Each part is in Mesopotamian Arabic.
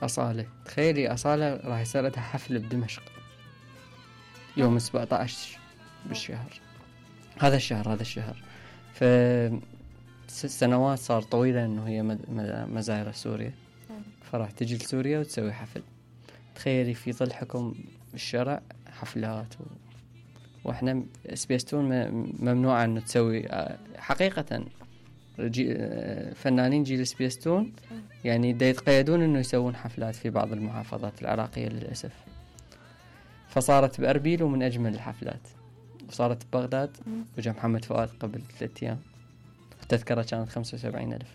أصالة. تخيلي أصالة راح يصير لها حفل بدمشق يوم 17 بالشهر، هذا الشهر. ف سنوات صار طويلة إنه هي مزايرة سوريا، فراح تجي لسوريا وتسوي حفل. تخيلي في ظل حكم الشرع حفلات وإحنا سبيستون ممنوع إنه تسوي حقيقة. فنانين جيل سبيستون يعني دا يتقيدون إنه يسوون حفلات في بعض المحافظات العراقية للأسف. فصارت بأربيل ومن أجمل الحفلات، وصارت ببغداد وجا محمد فؤاد قبل 3 أيام، التذكرة كانت 75,000.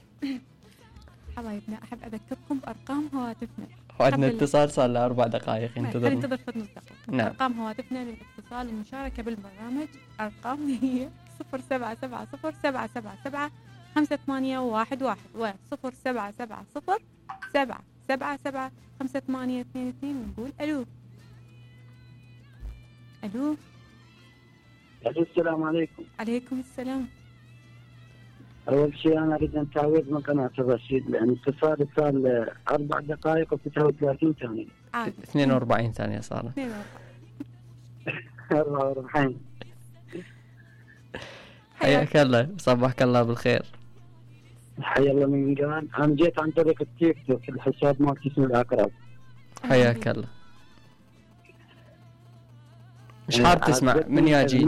حبايبنا أحب أذكركم بأرقام هواتفنا، وعندنا اتصال صار له 4 دقائق ينتظر. ننتظر نص دقيقة. نعم. أرقام هواتفنا للاتصال والمشاركة بالبرنامج، أرقام هي 0770-777-5811 و 0770-777-5822. ونقول ألو. ألو. السلام عليكم. عليكم السلام. أول شيء أنا أريد أن تعويض من قناة الرشيد، لأن اتصالي صار 4 دقائق و39 ثانية. 42 ثانية صار. 44. حياك الله، صباحك الله بالخير. حيا الله من قال. أنا جيت عن طريق التيك توك، الحساب مالتي اسمه العقرب. حياك الله. مش حاب تسمع من ياجي؟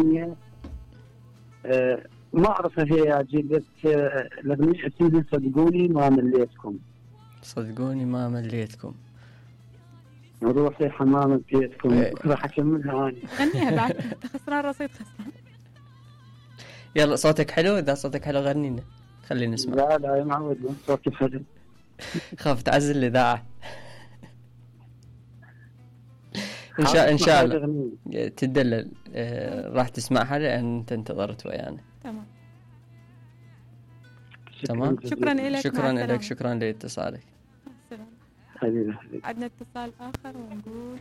ما أعرف هي ياجي، بس الأغنية اسمها صدقوني ما مليتكم. صدقوني ما مليتكم. روحي حمام بيتكم. راح أكملها أنا. غنيها بعد. خسران رصيد خسران. يلا صوتك حلو، إذا صوتك حلو غنينا خلينا نسمع. لا يا معود صوتي حلو. خاف تعزل الإذاعة. إن شاء الله تدلل. راح تسمعها لأن أنت انتظرت ويانا. تمام. شكرا لك. شكرا لاتصالك. حبيبي. عندنا اتصال آخر ونقول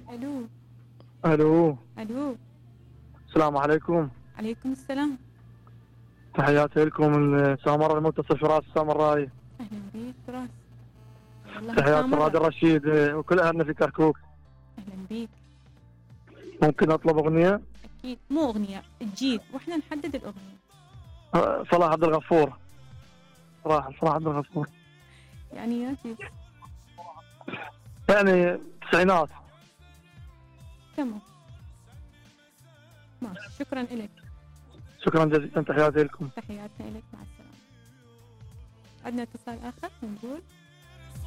ألو. ألو. السلام عليكم. عليكم السلام. تحياتي لكم من سامر المتصل فراس السامراي. أهلا بيك فراس. تحيات راد الرشيد وكل أهلنا في كركوك. أهلا بيك. ممكن أطلب أغنية؟ أكيد. مو أغنية، تجيب وإحنا نحدد الأغنية. صلاح عبد الغفور. صلاح عبد الغفور. يعني ياجي. يعني التسعينات. تمام. ماشي. شكرا لك. شكرا جزيلا. تحياتي لكم. تحياتنا لك. مع السلامة. عندنا اتصال آخر ونقول